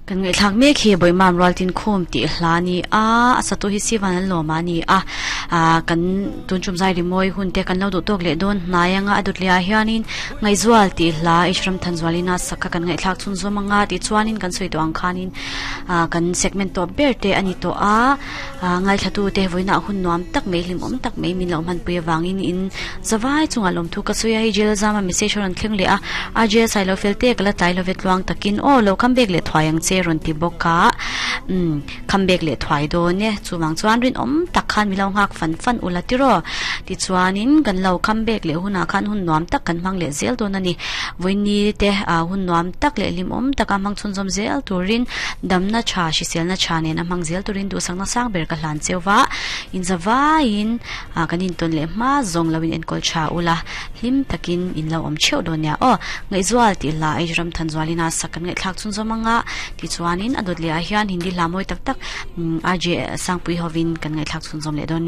Kan ngaihthlak mek hi Bawihmam Rualtin Khum tih hla a ni a, a satu hi Sivan an lawm a ni a, ah kan tun tum zai rimawi hun te kan lo duh tawk leh dawn hnai anga a dawtliah hianin Ngaihzual tih hla Ishram Thanzualina sak kha kan ngaihthlak chhunzawm anga tichuanin kan sawi tawh ang khanin ah kan segment tawp ber te a ni tawh a, ah ngaithla te vawiinah hun nuam tak mai hlimawm tak mai min lo hmanpui avangin in Zavai chungah lawmthu ka sawi a, hei jail zama message a rawn thleng leh a, RJ Sailo fel te ka la tlai love tluang takin aw lo come back leh thuai ang che rawn ti bawk a, umm come back leh thuai dawn e, chuvang chuan rinawm tak khan min lo nghak fan fan ula tiraw, tichuanin kan lo come back leh hunah khan hun nuam tak kan hmang leh zel dawn a ni, vawiini te ah hun nuam tak leh hlimawm taka hmang chhunzawm zel turin damna tha hriselna tha nen a hmang zel turin duhsakna sang ber ka hlan cheu va, in zavaiin. Ah kan intawn leh hma zawng lo in enkawl tha ula, hlim takin in lo awm theuh dawn nia aw. Ngaihzual tih hla Age ram Thanzualin a sak kan ngaihthlak chhun zawm anga tichuanin a dawt leh ah hian Hindi hla mawi tak tak RJ Sangpui hovin kan ngaihthlak chhun zawm leh dawn nia.